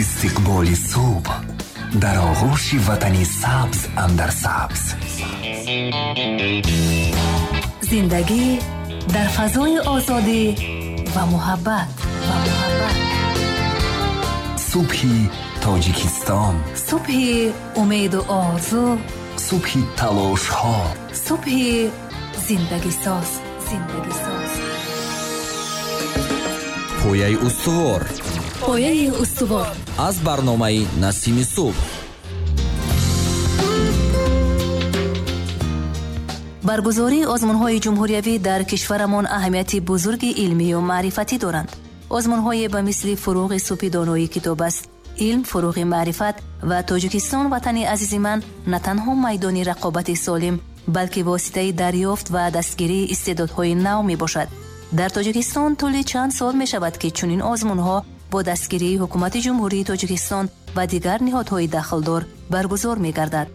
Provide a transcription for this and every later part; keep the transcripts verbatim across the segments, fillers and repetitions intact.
Истиқболи субҳ дар оғӯши ватани сабз андар сабз. Зиндагӣ дар фазои озодӣ ва муҳаббат ва муҳаббат. Субҳи Тоҷикистон. Субҳи умеду орзу. Субҳи талошҳо. Субҳи зиндагисоз. Зиндагисоз. Пояи устувор. Пояи устувор. Аз барномаи Насими субҳ. Баргузории озмунҳои ҷумҳуриявӣ дар кишварамон аҳамияти бузурги илмию маърифатӣ доранд. Озмунҳое ба мисли фурӯғи субҳи донои китоб аст, илм, фурӯғи маърифат ва Тоҷикистон ватани азизи ман на танҳо майдони рақобати солим, балки воситаи дарёфт ва дастгирии истеъдодҳои нав мебошад. Дар Тоҷикистон тӯли чанд сол мешавад, ки чунин озмунҳо бо дастгирии ҳукумати Ҷумҳурии Тоҷикистон ва дигар ниҳодҳои дахлдор баргузор мегардад.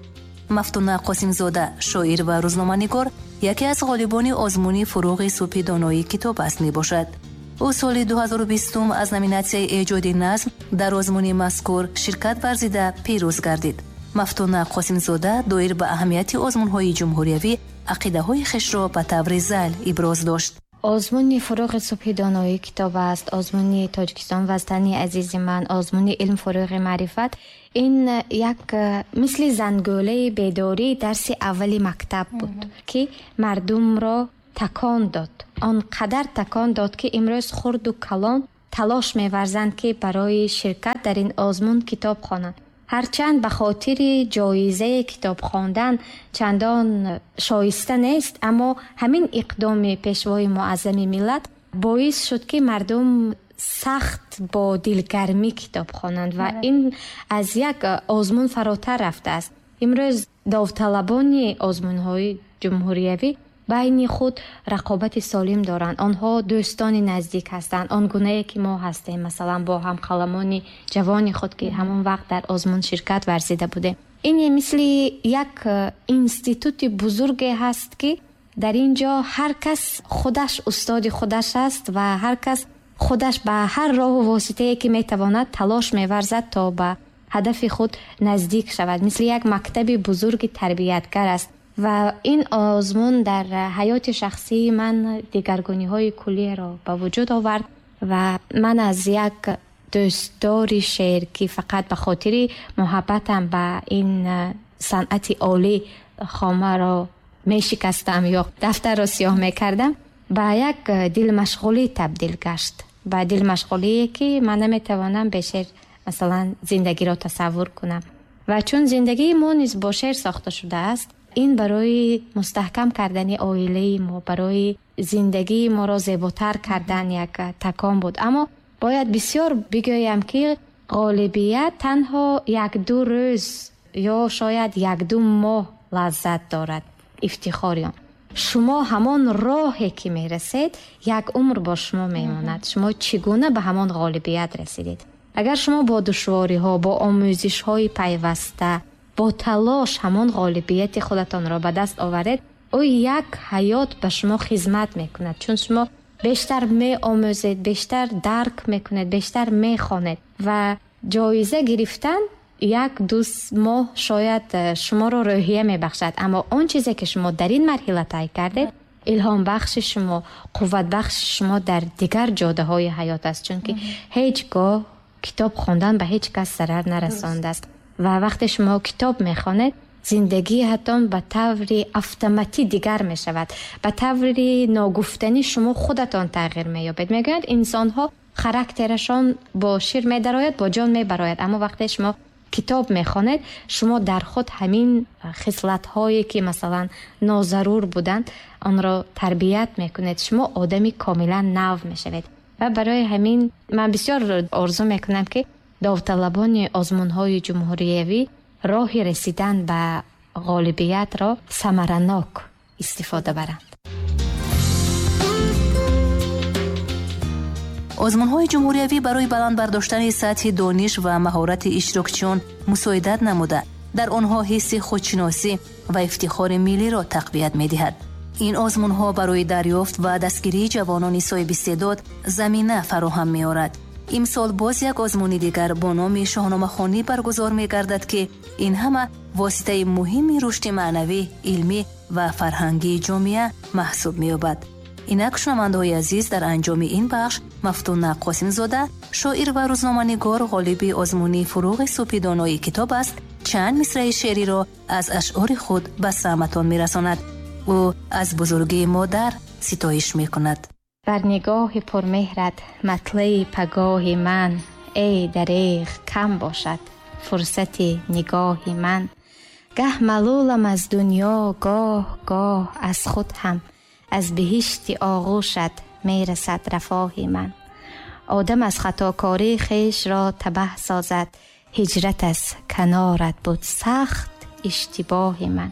Мафтуна Қосимзода, шоир ва рӯзноманигор, яке аз ғолибони озмуни фурӯғи субҳи донои китоб аст мебошад. Ӯ соли ду ҳазору бистум аз номинатсияи эҷоди назм дар озмуни мазкур ширкат варзида пирӯз гардид. Мафтуна Қосимзода доир ба аҳамияти озмунҳои ҷумҳуриявӣ ақидаҳои хешро ба таври зайл иброз дошт. Озмуни фурӯғи субҳи донои китоб аст, озмуни Тоҷикистон ватани азизи ман, озмуни илм фурӯғи маърифат. Ин як мисли зангӯлаи бедории дарси аввали мактаб буд, ки мардумро такон дод. Он қадар такон дод, ки имрӯз хурду калон талош меварзанд, ки барои ширкат дар ин озмун китоб хонанд. Ҳарчанд ба хотири ҷоизаи китоб хондан чандон шоиста нест, аммо ҳамин иқдоми пешвои муаззами миллат боис шуд, ки мардум сахт бо дилгармӣ китоб хонанд ва ин аз як озмун фаротар рафтааст. Имрӯз довталабони озмунҳои ҷумҳуриявӣ байни худ рақобати солим доранд. Онҳо дӯстони наздик ҳастанд, он гунае ки мо ҳастем, масалан бо ҳамқаламони ҷавони худ, ки ҳамон вақт дар озмун ширкат варзида будем. Ин мисли як институти бузурге ҳаст, ки дар ин ҷо ҳар кас худаш устоди худаш аст ва ҳар кас худаш ба ҳар роҳу воситае ки метавонад талош меварзад то ба ҳадафи худ наздик шавад. Мисли як мактаби бузурги тарбиятгар аст. Ва ин озмун дар ҳаёти шахсии ман дигаргуниҳои куллиро ба вуҷуд овард ва ман аз як дӯстдори шеър, ки фақат ба хотири муҳаббатам ба ин санъати олӣ хомаро мешикастам ё дафтарро сиёҳ мекардам, ба як дилмашғулӣ табдил гашт. Ба дилмашғулие, ки ман наметавонам бе шеър масалан зиндагиро тасаввур кунам. Ва чун зиндагии мо низ бо шеър сохта шудааст, ин барои мустаҳкам кардани оилаи мо, барои зиндагии моро зеботар кардан як такон буд. Аммо бояд бисёр бигӯям, ки ғолибият танҳо як-ду рӯз ё шояд як-ду моҳ лаззат дорад, ифтихори он. Шумо ҳамон роҳе ки мерасед, як умр бо шумо мемонад. Шумо чӣ гуна ба ҳамон ғолибият расидед? Агар шумо бо душвориҳо, бо омӯзишҳои пайваста, бо талош ҳамон ғолибияти худатонро ба даст оваред, ӯ як ҳаёт ба шумо хизмат мекунад, чун шумо бештар меомӯзед, бештар дарк мекунед, бештар мехонед ва ҷоиза гирифтан як-ду моҳ шояд шуморо рӯҳия мебахшад, аммо он чизе ки шумо дар ин марҳила тай кардед, илҳомбахши шумо, қувватбахши шумо дар дигар ҷодаҳои ҳаёт аст, чунки ҳеҷ гоҳ китоб хондан ба ҳеҷ кас зарар нарасондааст. Ва вақте шумо китоб мехонед, зиндагиатон ба таври автоматӣ дигар мешавад. Ба таври ногуфтанӣ шумо худатон тағйир меёбед. Мегӯянд инсонҳо характерашон бо шир медарояд, бо ҷон мебарояд. Аммо вақте шумо китоб мехонед, шумо дар худ ҳамин хислатҳое ки масалан нозарур буданд, онро тарбият мекунед. Шумо одами комилан нав мешавед. Ва барои ҳамин ман бисёр орзу мекунам, ки довталабони озмунҳои ҷумҳуриявӣ роҳи расидан ба ғолибиятро самаранок истифода баранд. Озмунҳои ҷумҳуриявӣ барои баланд бардоштани сатҳи дониш ва маҳорати иштирокчиён мусоидат намуда, дар онҳо ҳисси худшиносӣ ва ифтихори миллиро тақвият медиҳад. Ин озмунҳо барои дарёфт ва дастгирии ҷавонони соҳибистеъдод замина фароҳам меорад. Имсол боз як озмуни дигар бо номи шоҳномахонӣ баргузор мегардад, ки ин ҳама воситаи муҳими рушди маънавӣ, илмӣ ва фарҳангии ҷомеа маҳсуб меёбад. Инак, шунавандаҳои азиз, дар анҷоми ин бахш Мафтуна Қосимзода, шоир ва рӯзноманигор, ғолиби озмуни «Фурӯғи субҳи донои китоб аст», чанд мисраи шеъриро аз ашъори худ ба самъатон мерасонад. Ӯ аз бузургии модар ситоиш мекунад. Бар нигоҳи пурмеҳрат матлаи пагоҳи ман, эй дареғ, кам бошад фурсати нигоҳи ман. Гаҳ малулам аз дунё, гоҳ гоҳ аз худ ҳам, аз биҳишти оғӯшат мерасад рафоҳи ман. Одам аз хатокорӣ хешро табаҳ созад, ҳиҷрат аз канорат буд сахт иштибоҳи ман.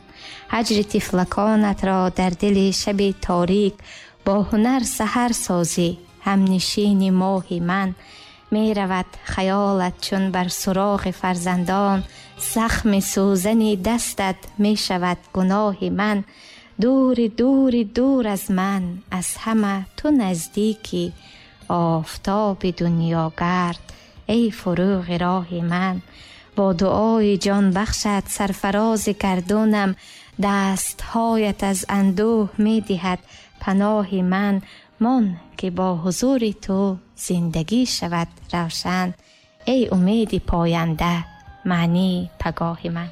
Ҳаҷри тифлаконатро дар дили шаби торик бо ҳунар саҳар созӣ, ҳамнишини моҳи ман. Меравад хаёлат чун бар суроғи фарзандон, захми сӯзани дастат мешавад гуноҳи ман. Дури дури дур аз ман, аз ҳама ту наздикӣ, офтоби дунёгард, эй фурӯғи роҳи ман. Бо дуои ҷонбахшат сарфарози гардунам, дастҳоят аз андӯҳ медиҳад паноҳи ман. Мон ки бо ҳузури ту зиндагӣ шавад равшан, эй умеди поянда, маънии пагоҳи ман.